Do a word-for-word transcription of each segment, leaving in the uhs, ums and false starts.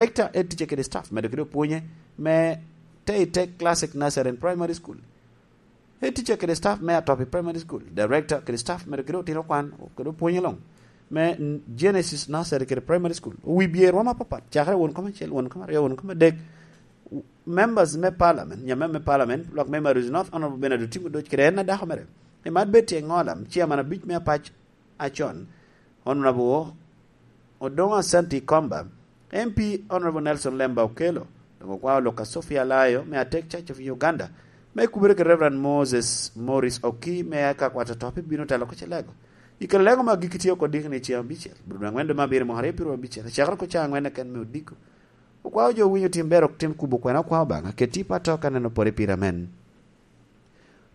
Director, head teacher kede staff, medo kede opwonye me Teite Classic Nursery and Primary School. Head teacher kede staff me Atopi Primary School. Director kede staff, medo kede otino kwan kede opwonye luŋ me Genesis Nursery kede Primary School. Owi bye romo apapat, cakere won kom acel, won kom aryo, won kom adek. Members me parliament, nyamem me parliament, lwak me Maruzi North, Honorable Bernard Otim Odoc, kede en adako mere, Emmanuel Betty Engola, chairman abic me apac acon, Honorable Odongo Asante Komba, M P Honorable Nelson Lemba Okello, dok okwao lok a Sophia Alayo me Atek Church of Uganda, me kubere kede Reverend Moses Morris Oki me Eka Kwat Atopi bino telo oko Celego. I kare lego ma gik itye oko dikni ceŋ abicel, bro dwe angwen dwe me abiro mwaka aryo pyeraryo abicel, acakere oko caŋ angwen keken me odiko. Okwao jo winyo tim ber ok tim kubo kwena okwao Obaŋa, keti pa to ka neno pore pire amen.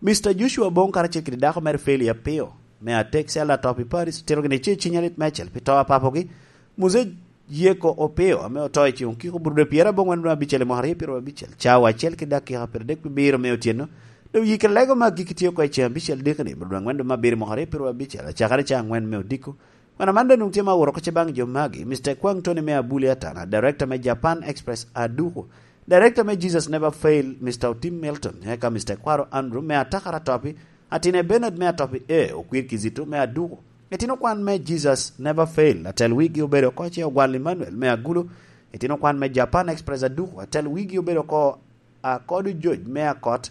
Mister Joshua Bong karacel kede dako mere Feli Apio, me Atek Cell Atop i Paris, otito gini ce cinya lit mecel pi to a papogi, Muse Yeko Opio, ame oto i ceŋ okiko bro dwe pyerabongwen dwe abicel i mwaka aryo pyeraryo abicel, cawa acel ki dakika pyeradek pi biro me otyeno, dok yikere lego ma gik itye oko i ceŋ abicel dikni, bro dwe angwen dwe me abiro i mwaka aryo pyeraryo abicel, acakere caŋ angwen me odiko. Wan aman dong tye ma aworo oko ce baŋ jo magi, Mister Kwang Tony me Abuli Atana, Director me Japan Express Aduku, Director me Jesus Never Fail, Mister Otim Milton, eka Mister Kwaro Andrew me Atakara Topi, Atine Bernard me Atopi A, Okwir Kizito me Aduku, Itino Kwan me Jesus Never Fail, atel wigi obedo oko ce Ogwal Emmanuel me Agulu, Itino Kwan me Japan Express Aduku, atel wigi obedo oko Akodo George me Akot,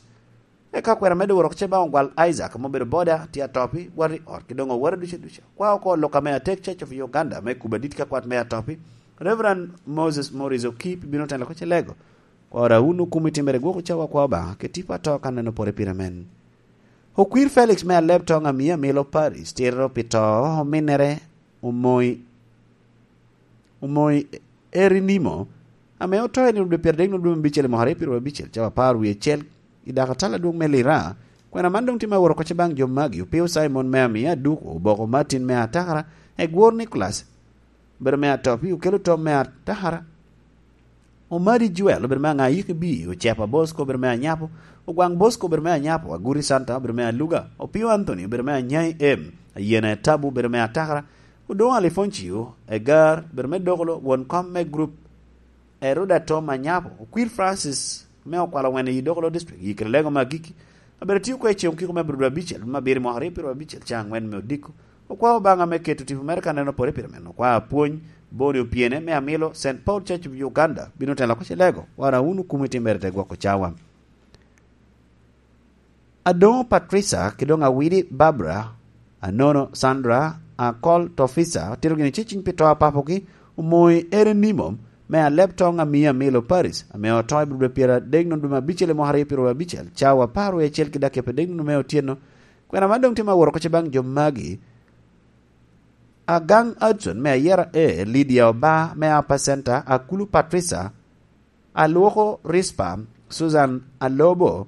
Eka kwena medde wot oko ce baŋ Ogwal Isaac, ame obedo boda, tye atopi, wot i ot, ki doŋ oworo ducu ducu. Kwa oko lok ame Atek Church of Uganda, me kubo adit ka kwat me atopi, Reverend Moses Morris Okip bino telo oko ce lego. Kwa ora wun okumi timere gwok ocawa kwa Obaŋa, ke tipo ato ka neno pore pire men. Okwir Felix me Aleb Toŋ Amia Milo Paris, tiro pi to ominnere Omoi, Omoi Eri Nimo, ame oto i nino dwe pyeradek nino dwe me abicel i mwaka aryo pyeraryo abicel, cawa apar wie acel, i dako atal adwoŋ me Lira, kwena man doŋ tye me woro oko ce baŋ jo magi, Opio Simon me Amia Aduku, Oboko Martin me Atakara, Egwor Nicholas, obedo me Atopi, Okelo Tom me Atakara, Omadi Joel, obedo me Aŋayiki B, Ocepa Bosco, obedo me Anyapo, Ogwaŋ Bosco, obedo me Anyapo, Aguri Santa, obedo me Aluga, Opio Anthony, obedo me Anyai M, Ayena Etabu, obedo me Atakara, Odoŋo Alifoncio, Egar, obedo me Dokolo, won kom me grup, Eruda Tom Anyapo, Okwir Francis, me Okwalo Wene i Dokolo District, yikere lego me agikki, abedo tio oko i ceŋ okiko me abiro dwe abicel, me abiro i mwaka aryo pyeraryo abicel, caŋ angwen me odiko, okwao Obaŋa me keto tipo mere ka neno pore pire men, okwao apwony, Boni Opyene, me Amilo, Saint Paul Church of Uganda, bino telo oko ce lego, wan awun okumi timere te gwoko cawa. Adoŋo Patricia, ki doŋ Awidi Barbara, Anono Sandra, Akol Tofisa, otito gini ceciny pi to a papogi, Omoi Eren Nimo, me Aleb Toŋ Amia Milo Paris, ame oto i dwe pyeradek nino dwe me abicel i mwaka aryo pyeraryo abicel, cawa apar wie acel ki dakika pyeradek nino me otyeno. Kwena man doŋ tye ma woro oko ce baŋ jo magi. Agaŋ Hudson me Ayera A, Lydia Oba me Upper Center, Akulu Patricia, Alwoko Rispa, Susan Alobo,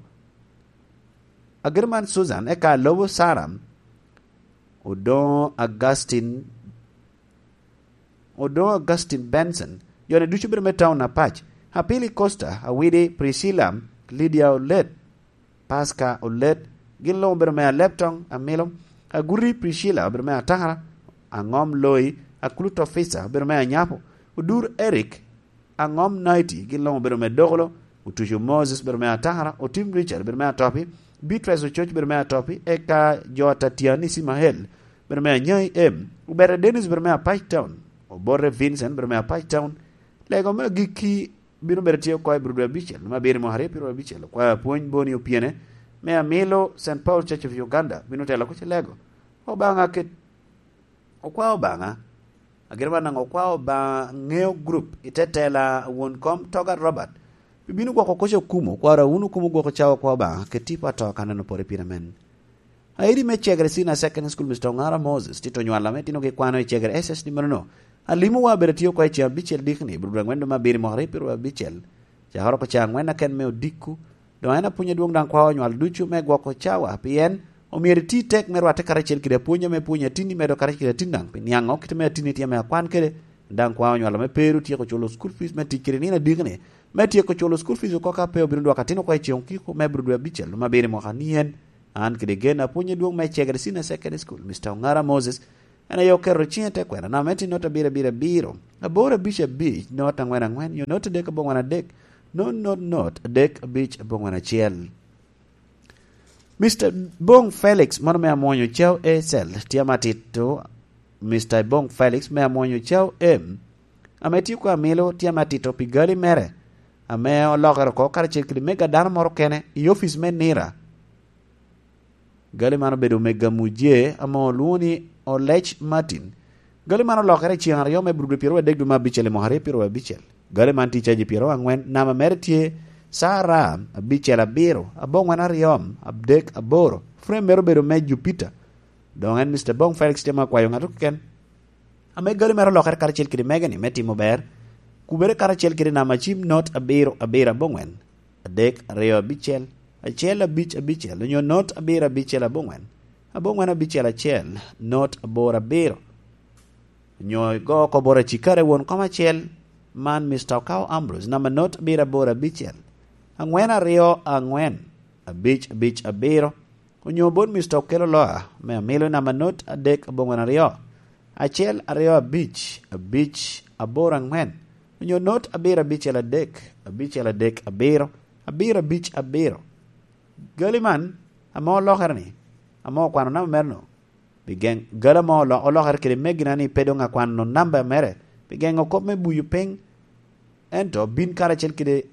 Agirman Susan, eka Alobo Sara, Odoŋo Augustine, Odoŋo Augustine Benson, jone ducu bedo me taun apac, Apili Costa, Awidi Priscilla, Lydia Olet, Pasca Olet, gin luŋ obedo me Aleb Toŋ Amilo, Aguri Priscilla obedo me Atakara, Aŋom Loi, Akulu Tofisa obedo me Anyapo, Odur Eric, Aŋom Naiti, gin luŋ obedo me Dokolo, Otuco Moses obedo me Atakara, Otim Richard obedo me Atopi, Beatrice Ococ obedo me Atopi, eka jo Atatiani Cimael obedo me Anyai M, Obere Dennis obedo me Apac Town, Obote Vincent obedo me Apac Town, lego me agikki bino bedo tye oko i bro dwe abicel, me abiro i mwaka aryo pyeraryo abicel, okwao apwony Boni Opyene, me Amilo Saint Paul Church of Uganda, bino telo oko ce lego. Obaŋa ket, okwao Obaŋa, agiro man daŋ okwao Obaŋa ŋeo group i te tela won kom Toga Robert, pi bino gwoko koca okumo, okwao ra wun okumo gwoko cawa okwao Obaŋa, ket tipo ato ka neno pore pire men. Aidi me Cegere Senior Secondary School, Mister Oŋara Moses, tito nywal ame tinogi kwano i Cegere S S D menono. Alimowa abedo tye oko i ceŋ abicel dikni, bro dwe angwen dwe me abiro i mwaka aryo pyeraryo abicel. Cakere oko caŋ angwen aken me odiko. Doŋ en apwony adwoŋ daŋ kwao nywal ducu me gwoko cawa, pien omyero iti tek me rwatte karacel kede apwony ame pwonyo atinni medo karacel kede atin daŋ, pi niaŋo kite me atinni tye ame akwan kede, daŋ kwao nywal ame pe ru tyeko culo school fees me tic kede nino adikni, me tyeko culo school fees oko ka pe obino dwoko atin oko i ceŋ okiko me bro dwe abicel dwe me abiro i mwaka ni en. An kede gen apwony adwoŋ me Cegere Senior Secondary School, Mister Oŋara Moses, En aye oketo ciŋe te kwena namba me tye not abiro abiro abiro, aboro abic abic, not angwen angwen, nyo not adek abongwen adek, not not not adek abic abongwen acel. Mister Bong Felix, mano me amwonyo Cao A Cell, tye ame atito. Mister Bong Felix me amwonyo Cao M, ame tye oko amilo, tye ame atito pi gali mere, ame olokere oko karacel kede mega dano moro kene i ofic me nira. Gali man obedo mega muje ame olwoŋo ni Olec Martin. Gali man olokere i ceŋ aryo me Aburudu pyeraryo adek dwe me abicel i mwaka aryo pyeraryo abicel. Gali man tye caji pyeraryo angwen, namba mere tye C R abicel abiro, abongwen aryo, adek aboro. Frame mere obedo me Jupiter. Doŋ en Mister Bong Felix tye ma kwayo ŋat keken ame gali mere olokere karacel kede mege-ni me timo ber, kubere karacel kede namba cim not abiro abiro abongwen, adek aryo abicel, acel abic abicel, onyo not abiro abicel abongwen, abongwen abicel acel, not aboro abiro. Onyo igo oko bot acikare won kom acel, man Mister Okao Ambrose, namba not abiro aboro abicel, angwen aryo angwen, abic abic abiro, onyo bot Mister Okelo Loa, me amilo namba not adek abongwen aryo, acel aryo abic, abic aboro angwen, onyo not abiro abicel adek, abicel adek abiro, abiro abic abiro. Gali man, ame olokere ni, ame okwano namba mere-nu, pi geŋ gali ame olo-, olokere kede megina ni pe doŋ akwano namba mere, pi geŋo kop me buyo piny, ento bin karacel kede,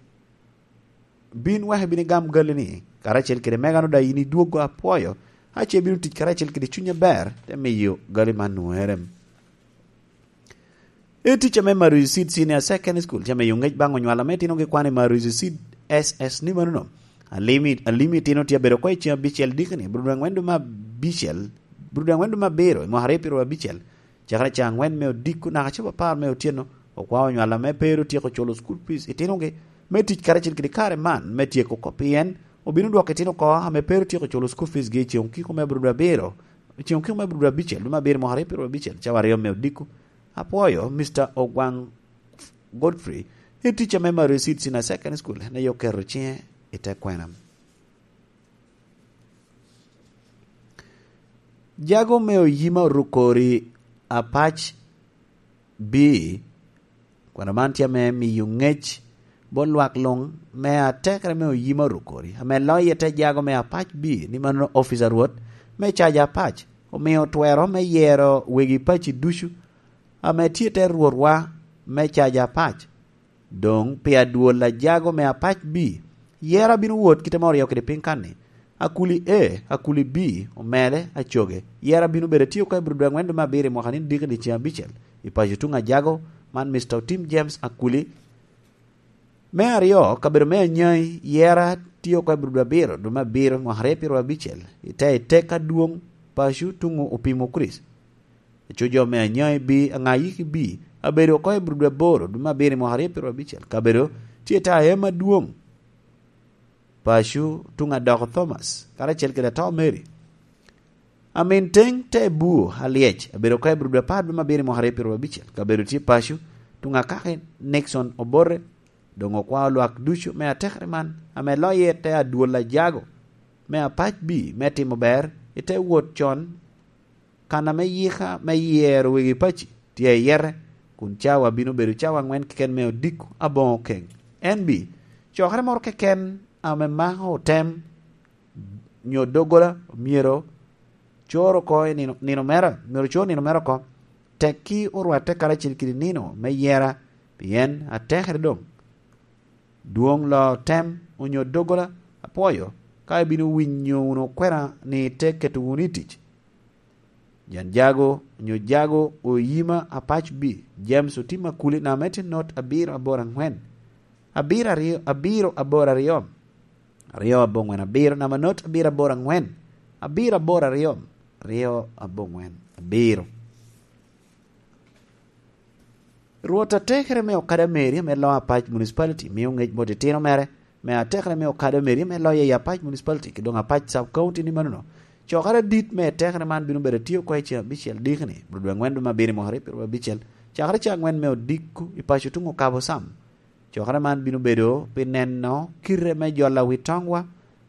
bin wek ibin igam gali-ni, karacel kede megano daŋ in idwoggo apwoyo, ace ibino tic karacel kede cuny aber, te miyo gali man nwoŋere. E ticca me Maruzi Seed Senior Secondary School, tye ame yo ŋec baŋ onywalo ame itino gi kwan i Maruzi Seed S S ni manono. Alimi, alimi itino tye abedo oko i ceŋ abicel dikini, Aburudu angwen dwe me abicel, Aburudu angwen dwe me abiro, i mwaka aryo pyeraryo abicel, cakere ca angwen me odiko naka cobo apar me otyeno, okwao onywalo ame pe ru tyeko culo school fees itinogi, me tic karacel kede kare man, me tyeko oko pien obino dwoko itino oko ame pe ru tyeko culo school fees gi i ceŋ okiko me Aburudu abiro, i ceŋ okiko me Aburudu abicel, dwe me abiro, mwaka aryo pyeraryo abicel, cawa aryo me odiko. Apwoyo, Mister Ogwang Godfrey, i ticca me Maruzi Seed Senior Secondary School, en aye oketo ciŋe i te kwena. Jago me Oyima Orukori Apac B, kwena man tye ame miyo ŋec bot lwak luŋ me atekere me Oyima Orukori, ame loyo i te jago me Apac B, ni mano ofica Rwot me caja Apac, omio twero me yero wegi paci ducu, ame tye te Rwotwa me caja Apac. Doŋ pi adwol a jago me Apac B, yero abino wot kite ma oryo kede piny kan-ni. Akuli A, Akuli B, omele, acoge. Yero abino bedo atye oko i Aburudu angwen dwe me abiro i mwaka ni diki ni ceŋ abicel. I paco tuŋ ajago, man Mister Otim James Akuli. Me aryo, kabedo me Anyai, yero atye oko i Aburudu abiro, dwe me abiro, mwaka aryo pyeraryo abicel. I te i tek adwoŋ, paco tuŋ Opimo Kricito. Aco jo me Anyai B, Aŋayiki B, abedo oko i Aburudu aboro, dwe me abiro i mwaka aryo pyeraryo abicel. Kabedo tye i te aema adwoŋ. Paco tuŋ Adoko Thomas, karacel kede Atoo Mary. Amin Teŋ te Buo Alyec, abedo oko i Aburudu apar, dwe me abiro i mwaka aryo pyeraryo abicel. Kabedo tye paco tuŋ Akaki Nixon Obote, doŋ okwao lwak ducu me atekere man, ame loye te adwol ajago me Apac B me timo ber i te wot con, kan ame yika me yero wegi paci tye ayete, kun cawa bino bedo cawa aŋwen keken me odiko aboŋo keŋ. N B, cokere moro keken ame mako otem nyo doggola myero cor oko i nino, nino mere, myero cor nino mere oko, tekki orwatte karacel kede nino me yera, pien atekere doŋ. Dwoŋ loo tem onyo doggola, apwoyo ka ibino winyo wunu kwena ni te keto wunu i tic. Jan jago onyo jago Oyima Apac B, James Otim Akuli, namba me tye not abiro aboro aŋwen, abiro aryo, abiro aboro aryo, aryo aboŋwen abiro, namba not abiro aboro aŋwen, abiro aboro aryo, aryo aboŋwen abiro. Rwot atekere me Okada Mary ame loo Apac Municipality mio ŋec bot itino mere me atekere me Okada Mary ame loyo i Apac Municipality ki doŋ Apac Sub County ni manono. Cokere adit me atekere man bino bedo atye oko i ceŋ abicel dikini, Aburudu angwen dwe me abiro i mwaka aryo pyeraryo abicel, cakere ceŋ angwen me odiko i paco tuŋ Okabo Sam. Cokere man bino bedo pi neno kite me jolo wi toŋwa,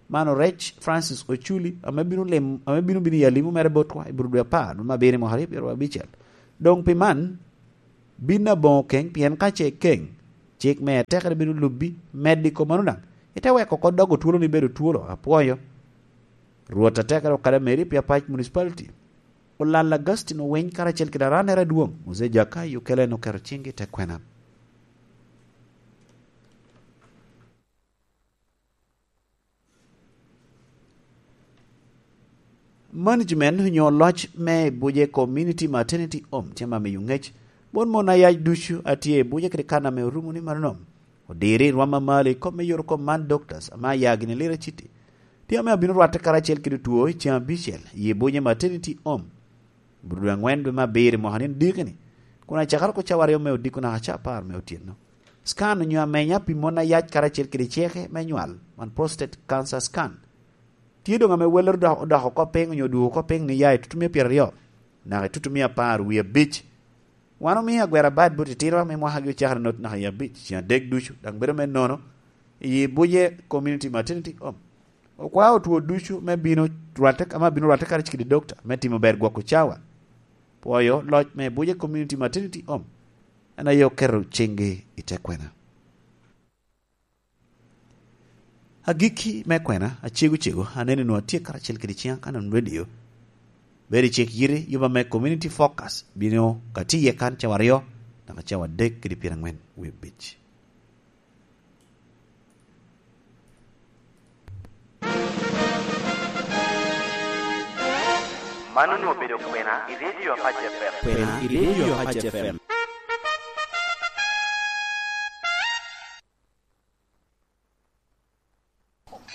Man orec Francis Ochuli, ame bino lim-, ame bino bino i alimo mere botwa i Burudu apar, me abiro i mwaka aryo pyeraryo abicel. Doŋ pi man, bin aboŋo keny, pien ka ce keny, cik me atekere bino lubbi, medde i kom mano daŋ, ite weko oko dogo twolo ni bedo twolo. Apwoyo Rwot atekere okada Mary pi Apac Municipality. Olal Augustine Owiny karacel kede arannere adwoŋ, Muzee Jakayi Okello en oketo ciŋgi i te kwena. Management onyo loc me Buje Community Maternity Home tye ma miyo ŋec bot mon ayac ducu a tye i Buje kede kan ame orumo ni mano nom. Odiri i rwam a malo i kop me yot kom man, doctors ame aya gini Lira City tye ame abino rwatte karacel kede two i ceng abicel i Buje Maternity Home. Bur dwe angwen dwe me abiro i mwaka ni diki-ni, kun acakere oko cawa aryo me odiko naka ca apar me otyeno. Scan onyo amenya pi mon ayac karacel kede ceke me nywal, man prostate cancer scan, tye doŋ ame welere odok, odoko oko piny onyo odwogo oko piny ni ya i tutumia pyeraryo naka i tutumia apar wie abic. Wan omio agwera bad bot itinowa me mwakagi ocakere noti naka i abic, ceng adek ducu, daŋ bedo me nono i Buje Community Maternity Home. Okwao otwo ducu me bino rwatte, ame abino rwatte karacel kede dokta me timo ber gwoko cawa. Pwoyo loc me Buje Community Maternity Home en aye oketo ciŋgi i te kwena. Agikki me kwena, acego cego, aneno nwoŋo atye karacel kede ciŋa Canon Radio. Bedo i cik yiti, yuba me Community Focus bino ka tye iye kan cawa aryo naka cawa adek kede pyerangwen wie abic. Man onwoŋo obedo kwena i Radio Apac F M. Kwena i Radio Apac F M.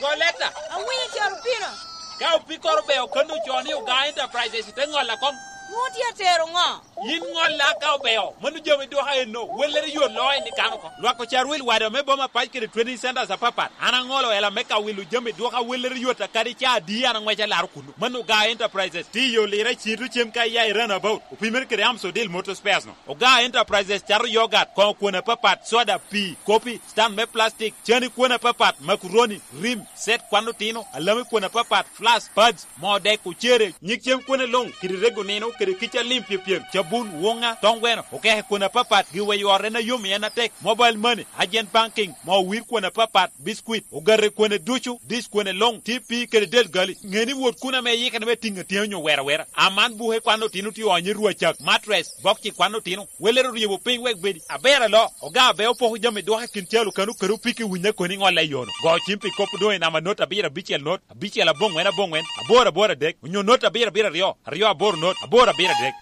Goleta. Awinyo, Carupino. Ka opikkoro obeo kano ocoo ni Ogaa Enterprises, ite ŋolla koŋ. Nwoŋo tye atero ŋo? Yin ŋolla ka obeo, mano jami dwoka eno, wellere yot loo en i kano oko. Lwak ocar wil wada me boma pac kede training centers apapat. An aŋolo ela me ka wilo jami dwoka wellere yot a kadi ca adi an aŋweco alaro kuno. Mano Ogaa Enterprises, tye i yo Lira Cito cem ka iya i Runabout, opimere kede Amsodil Motor Spares no. Ogaa Enterprises cato yogat, koŋo kwon apapat, soda, pii, kopi, stand me plastic, cani kwon apapat, makuroni, rim, set kwan otino, alami kwon apapat, flask, pads, moo dek, ocere, nyig cem kwone luŋ, kede rego nino, kede kica lim pyepyem, cabun, woŋa, toŋ gweno, okeke kwon apapat, giweyo ot en ayom i en atek, mobile money, agent banking, moo wir kwon apapat, biscuit, ogate kwone ducu, dish kwone luŋ, T P kede del gali. Ŋe ni wot kun ame iyikere me tiŋ atyeni onyo wero awera. Aman buke kwan otino tye onyo i rwacak, mattress, bokci kwan otino. Welere oryebo piny wek bedi. Aber alo, Ogaa Abeo poko jami dwoke kin calo kano kede opiki winya koni ŋolle i yono. Go cim pi kop doŋ i namba not abiro abicel not, abicel aboŋwen aboŋwen, aboro aboro adek, onyo not abiro abiro aryo, aryo aboro not, aboro abiro adek.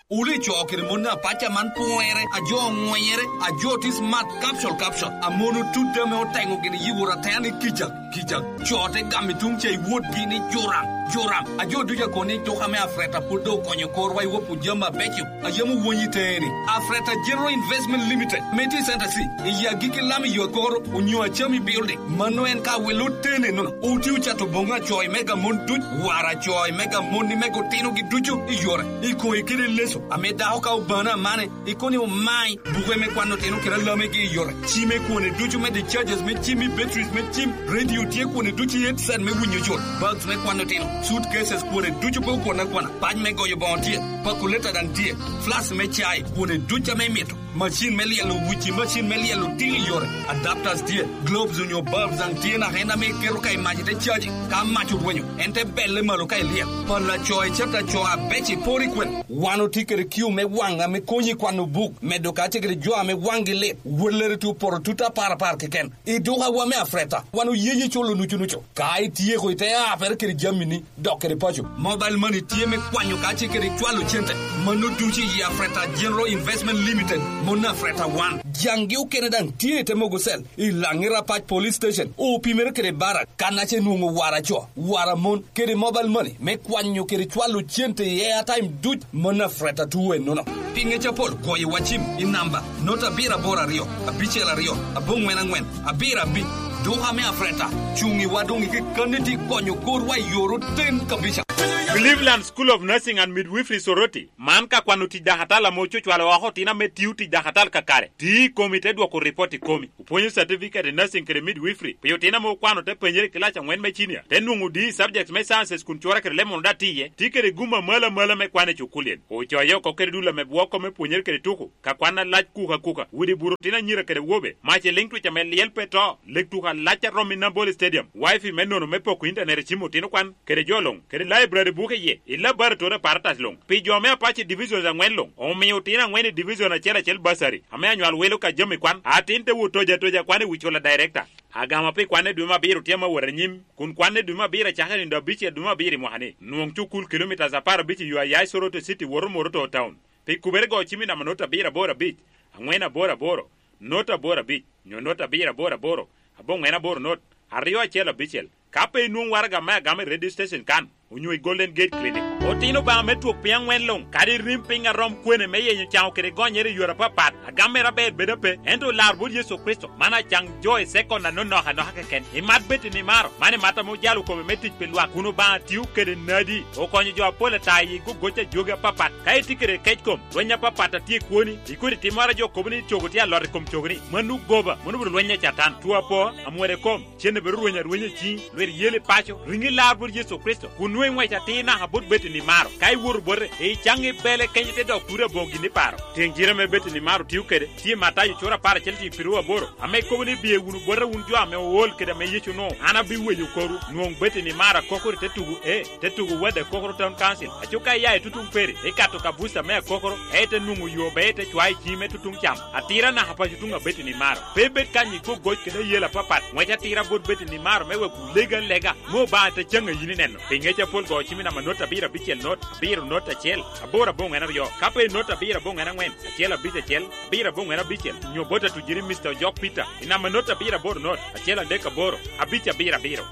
Wule co kede mon apac a man pwere, a jo oŋwenyere, a jo tye smart, capsule, capsule, a mon otut ame oteŋo gini yiwor atena ni kica, kica. Co te gamo i tuŋ ca i wotgi ni joram, joram. A jo ducu a kono ni duka me Afreta pwod doŋ okonyo korwa i wopo jami abeco a yam owony i teŋe ni. Afreta General Investment Limited, me tye i Center C, i agikki lam i yo akoro, onyo Achami Building. Mano en ka welo otene nono. Otye ocato boŋo acoc mega mon duc, wara acoc mega mon ni mego otinogi ducu i yore. I koŋe kede leco, ame dako ka obano amane, i koni omai, buke me kwano otino kede alamegi i yore. Ci me kwone ducu me discharges me cim i batteries me cim, radio tye kwone ducu i headset me winyo jol, bags me kwano otino, suitcases kwone ducu pe okwon akwana, pac me goyo boŋo tye, pakuleta daŋ tye, flask me cai, kwone ducu ame imito. Macin me lyelo wici, macin me lyelo tiki i yore, adapters tye, globes onyo bulbs daŋ tye naka en ame iketo ka i mac ite caji. Ka mac orwenyo, en te belle malo ka ilyel. Pala co i cata co abec i pori kwen. Wan otye kede kiu me waŋ ame konyi kwano buk, medo kacel kede jo ame waŋgi lit, wellere tye opoto tut apar apar keken. I dukawa me Afreta, wan oyeyi culo nucu nucu. Ka ityeko ite apere kede jamini, dok kede paco. Mobile money tye me kwanyo kacel kede cwalo cente. Mano ducu i Afreta General Investment Limited, mon Afreta wan. Jaŋgi okene daŋ tye i te mogo cell, i Laŋira Pac Police Station, opimere kede barak, kan ace nwoŋo wara co, wara mon, kede mobile money, me kwanyo kede cwalo cente i airtime duc, mon Afreta tuwe nono. Pi ŋec apol, goyo wa cim i namba, not abiro aboro aryo, abicel aryo, aboŋwen aŋwen, abiro abic. Duka me Afreta, cuŋ i wa doŋ i kekkanni tye konyo korwa i yor oten kabisa. Cleveland School of Nursing and Midwifery Soroti, man ka kwano tic dakatal ame ocucwalo oko otino ame tio tic dakatal kakare, tio i komi te dwoko ripot i komi. Opwonyo certificate i nursing kede midwifery pi otino ame okwano te penyere i kilac angwen me cinia, te nwoŋo D i subjects me sciences kun cwora kede lemon daŋ tye iye, tye kede gum amalo amalo me kwan i cukulien. Ocoye oko kede dul ame bwoko me pwonyere kede tuko, ka kwan alac kuka kuka, widi bur otino anyira kede wobe, mac i liŋ twic ame lyel pe to, lek tuko alac a romo i Nambole Stadium, wifi me nono me poko intanet i cim otino kwan, kede jo luŋ, kede library buke iye, i laboratory apparatus luŋ. Pi jo me Apache Divisions aŋwen luŋ, omio otino aŋwen i division acel acel bursary, ame anywal wilo ka jami kwan, atin te wot toja toja kwan i wi cula director. Agama pi kwan i dwe me abiro tye ame awot anyim, kun kwan i dwe me abiro acakere nino abicel dwe me abiro i mwaka ni. Nwoŋ cukul kilomitas apar abic i yo a ya i Soroti City woto Moroto Town. Pi kubere go cim i namba not abiro aboro abic, aŋwen aboro aboro, not aboro abic, nyo not abiro aboro aboro, aboŋwen aboro not, aryo acel abicel. Ka pe inwoŋ waraga me agama i radio station kan, onyo i Golden Gate Clinic. Otino Obaŋa me twok piny aŋwen luŋ, kadi rim piny a rom kwene me yenyo caŋo kede gonyere i yore apapat, agam mere aber bedo ape, ento olar bot Yecu Kricito, man acaŋ jo i sekon anonok anoka keken. Imat Betty Nimaro, man imat ame ojalo kome me tic pi lwak, kun Obaŋa tio kede nadi, okonyo jo apol ata i gogoc a jogi apapat. Ka itye kede kec kom, lweny apapat a tye i kwoni, ikodi timmoro a jo kobo ni cogo tye alot i kom cogoni, mano goba, mano obedo lweny a Catan. Two apo, amwode kom, cen obedo rweny arwenya i ciŋi, lwit yel i paco, riŋi lar bot Yecu Kricito, kun nwoŋo iŋwec atir naka bot Betty Nimaro. Ka iwoto bote, icaŋ i bele kenyo te dok turi aboŋo gin iparo. Tiŋ jire ame Betty Nimaro tio kede, tye i Matayo cura apar acel tiŋ piru aboro, ame kobo ni, "Biye wunu bota wun jo ame ool kede ame Yecu onwoŋo, an abiweyo korwu." Nwoŋ Betty Nimaro akokoro i te tugo, e, te tugo wade akokoro Town Council. Aco ka iya i tutuŋ peri, ikato ka buca me akokoro, e, ite nwoŋo yo be ite cwa i ciŋi me tutuŋ cam. Atira naka paco tuŋ a Betty Nimaro. Pe ibed kany i kwo goc kede ayela apapat. Ŋwec atira bot Betty Nimaro me wek wulege alega, me Obaŋa te caŋ a yin ineno. Pi ŋec apol go cim i namba not abiro abicel not, abiro not acel, aboro aboŋwen aryo. Ka pe not abiro aboŋwen aŋwen, acel abic acel, abiro aboŋwen abicel, nyo bot atujiri Mister Ojok Peter, i namba not abiro aboro not, acel adek aboro, abic abiro abiro.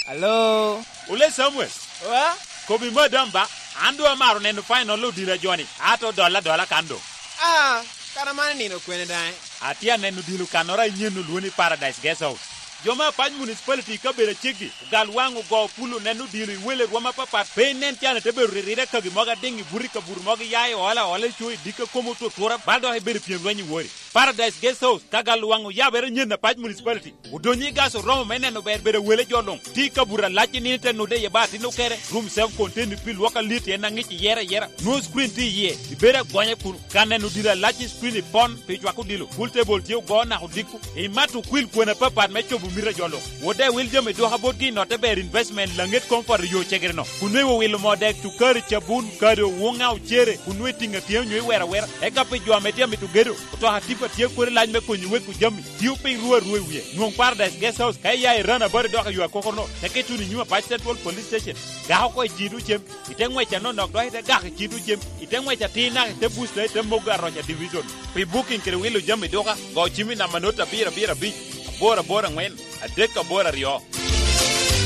Alo? Ole Samuel. Wa? Kobi madam ba, an doŋ amaro neno final odilo a joni, ato dolla dolla kan doŋ. Ah, kara man nino kwene daŋ? Atye aneno odilo kannoro a inyen olwoni Paradise Guest House. Jo me Apac Municipality i kabedo aceggi, ogal waŋ ogo pul oneno odilo i wele rwom apapat, pe inen can ite bedo ririre kagi mogo adiŋ i buto i kabuto mogo iya i ola ola i co i dikka komo otutura, bal dok ibedo pyem lweny i wori. Paradise Guest House, ka gal waŋ oyabere nyen Apac Municipality. Odonyo i gas oromo me neno ber bedo wele jo luŋ. Tye i kabuto alac i nino te nude iye ba atin okere. Room self contained pi lwok alit en aŋic iyere ayera. Nwoŋo screen tye iye. Ibedo agonya kun ka neno dilo alac i screen i pon pi cwako dilo. Pool table tye ogo naka odiko. Imato okwil kwena apapat me cobo mito a jo luŋ. Wode wil jami duka botgi inotte ber investment laŋet comfort i yo cegere-no. Kun nwe iwilo moo dek, cukari, cabun, kado, woŋa, ocere, kun nwe itiŋ atyea onyo iwero awera. Eka pi jo ame tye amito gedo, otoka tipa tye kodi lac me konyo weko jami. Tio piny ru arua i wie. Nwoŋ Paradise Guest House ka iya i Rana Bari dok i yo akokoro-no, teke ituno i nyim Apac Central Police Station. Gak oko i cito cem, ite ŋwec anonok dok ite gak i cito cem, ite ŋwec atir naka ite busta ite mogo aroc a division. Pi booking kede wilo jami duka, go cim i namba not abiro abiro abic, aboro aboro aŋwen, adek aboro aryo.